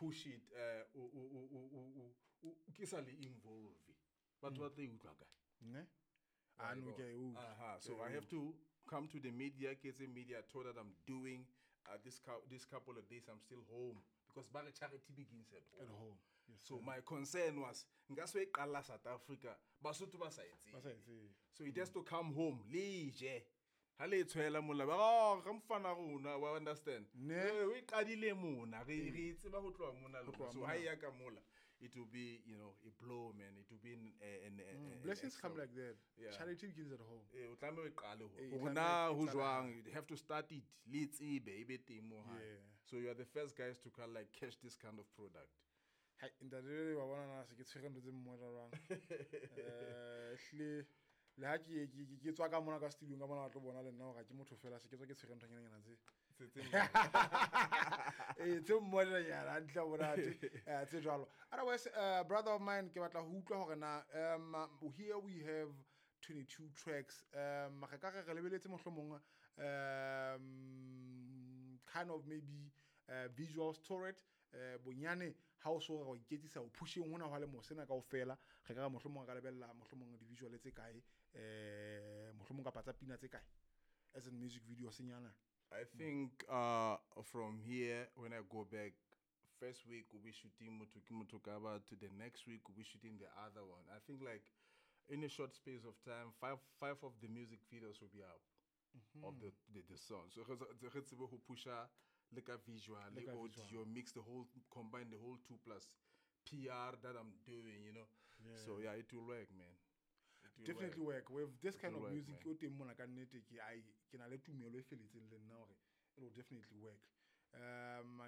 push it o ke sa le involve, batho ba tla e utlwa kae? Ne, a no, ke a e utlwa. So I have to come to the media, ke etse media tour that I'm doing this couple of days. I'm still home because ba re charity begins at home. At home, yes. So my concern was nka se e qalla South Africa, Basotho ba sa e tsebe. Ba sa e tsebe. So it has to come home le je ha le tshwela mola ba, oh, re mfana rona wa understand. Ne. Eh, o e qadile mona, re e tseba ho tloha mona le tloha so mona. Ha e ya ka mola, it will be a blow, man. It will be an Blessings extra- come like that. Yeah. Charity begins at home. Eh, o tlameha o e qale Eh, e hore tlameha na e ho qale. jwang. You have to start it le tsebe e be teng mo hae. So you are the first guys to kind of like catch this kind of product. Hai, ntate, wa bona na se ke tshwere ntho tse mmoja jwang. Ehlile le ha ke tswa ka mona ka studio ka mona, ba tlo bona le nna hore ha ke motho fela, se ke tswa ke tshwere nthonyana tse. Ee, tse mmolelanyana hantle monate, tse jwalo. Otherwise, brother of mine, ke batla ho utlwa hore na here we have 22 tracks. Re ka re re lebeletse mohlomong kind of maybe visuals to it, bonyane ha o so re wa iketsisa o pusheng hona hwa le mo sena kaofela, re ka re mohlomong re ka lebella mohlomong di-visual tse kae, mohlomong kapa tsa pina tse kae as in music video senyana? I think from here, when I go back, first week we'll be shooting Motho Ke Motho Ka Batho. The next week we'll be shooting the other one. I think like in a short space of time, five of the music videos will be up of the song. So re tsebe ho pusha le ka visual, Le le ka audio, visual. Mix the whole, combine the whole two plus PR that I'm doing. So yeah, it will work, man. It will Definitely work. work with this kind will of work, music man. o teng mona ka nnete, ke ai ke na le tumelo e feletseng le nna hore it will definitely work.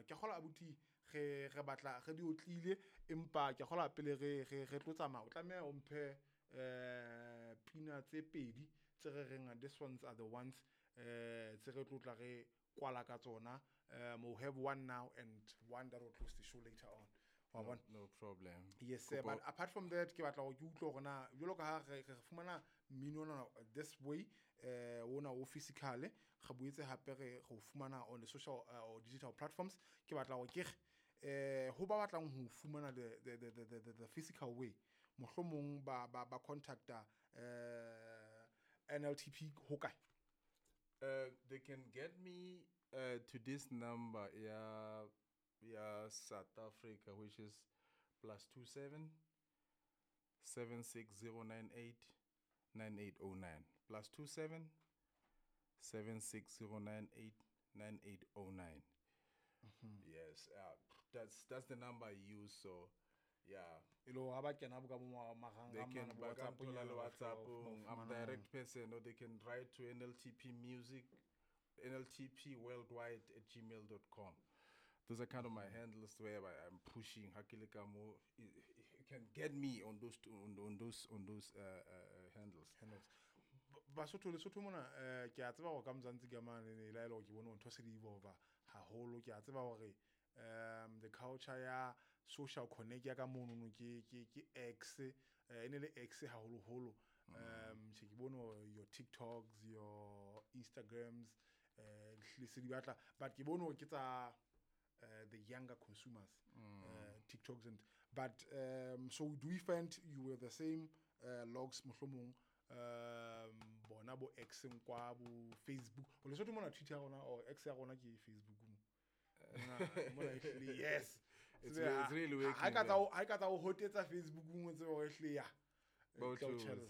Ke kgola abuti re batla re di otlile, empa ke kgola pele re tlo tsamaya o tlameha o mphe pina tse pedi tse re reng this ones are the ones tse re tlo tla re kwala ka tsona. We'll have one now and one that will close the show later on, wa bona? No problem. Yes sir, but apart from that, ke batla hore ke utlwe hore na jwalo ka ha re fumana mmino ona this way, ona o physical, re boetse hape re o fumana on the social or digital platforms. Ke batla hore ke re ho ba batlang ho fumana the physical way, mohlomong ba contacta NLTP ho kae? They can get me to this number, yeah, South Africa, which is +27 76098 9809. +27 76098 9809. Yes, that's the number I use. So, yeah. E le hore ha ba kena bo ka bo marangrang They can mane, bo ba ka WhatsApp nthola nyana le ba tla WhatsApp. o I'm fumana. direct person, or they can write to NLTP Music, NLTPworldwide@gmail.com. Those are kind of my handles where I'm pushing. Ha ke le ka mo, you can get me on those two, on those handles. Handles. Basotho, Lesotho mona, ke a tseba hore ka Mzansi ka mane ne la ile hore ke bone hore ntho se di evolve haholo. Ke a tseba hore the culture ya social connect ya ka mono no ke X, e ne le X haholoholo. Tjhe, ke bone hore your TikToks, your Instagrams, le se di batla, but ke bone hore ke tsa the younger consumers, TikToks and but so do we find you were the same logs mohlomong bona bo X kwa bo Facebook o Lesotho mona, Twitter ya rona or X ya rona ke Facebook mo. Mona ehlile, yes. It's Tsebe really working, ha e ka tsa man. ha e ka tsa o hotetsa Facebook o tsebe hore ehlile ya. Both Tla o ways. tjhella.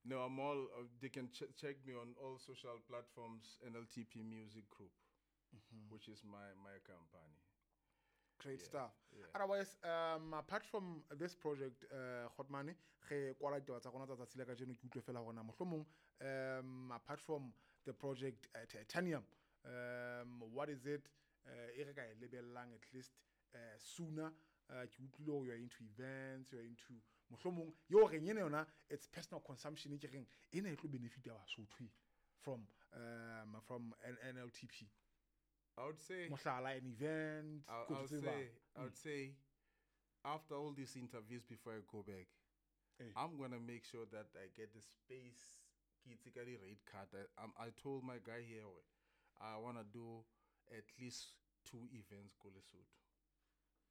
No, I'm all. They can check me on all social platforms. NLTP Music Group, which is my company. Great Yeah, stuff. yeah. Otherwise, apart from this project, Kgotmane, re kwala ditaba tsa rona tsa tsatsi la kajeno, ke utlwe fela hore na mohlomong, apart from the project, Titanium, what is it e re ka e lebellang at least sooner? Ke utlwile hore you are into events, you are into mohlomong yo reng ena yona, it's personal consumption, ke reng ena e tlo benefit ya Basotho from NLTP. I would say Mohlala, an event, ko tseba. I would say after all these interviews, before I go back, Eh. I'm going to make sure that I get the space. Ke itse ka di rate card. I told my guy here, I want to do at least 2 events ko Lesotho.